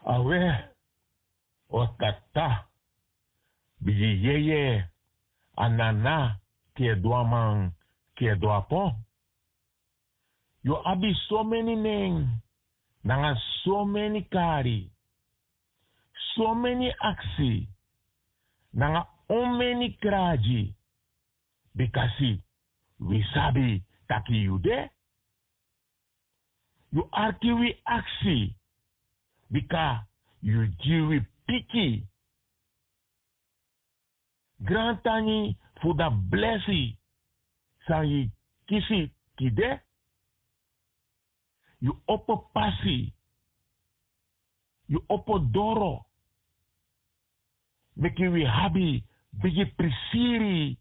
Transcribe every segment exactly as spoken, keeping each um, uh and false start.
Awe, o tata, bigi yeye, a nana, kedu a man, kedu a pon. Yu abi someni nen nanga someni kari, someni aksi nanga omeni kragi, bikasi wi sabi taki yu de. Yu arki wi aksi, bika yu gi wi piki. Grantangi fu dan blesi san yu kisi tide. Yu opo pasi, yu opo doro, meki wi abi bigi prisiri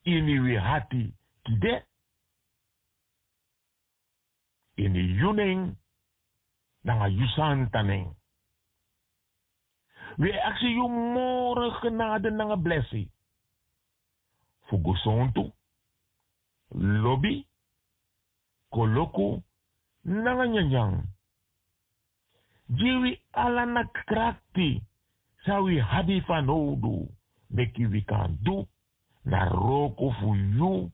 ini wi hati tide. Ini yu nen nanga yu santa nen. Wi e aksi yu moro genade nanga blesi fu gesontu, lobi, koloku nanga nyanyan. Gi wi ala na krakti san wi abi fanowdu, meki wi kan du na wroko fu yu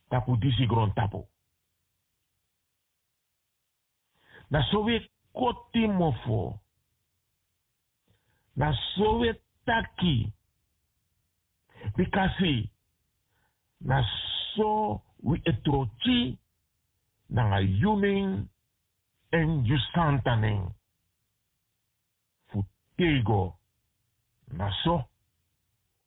tapu disi grontapu. Na so wi e koti mofo. Na so wi e taki. Bikasi na so wi e troki nanga yu nen èn yu santa nen. Fu tego na so.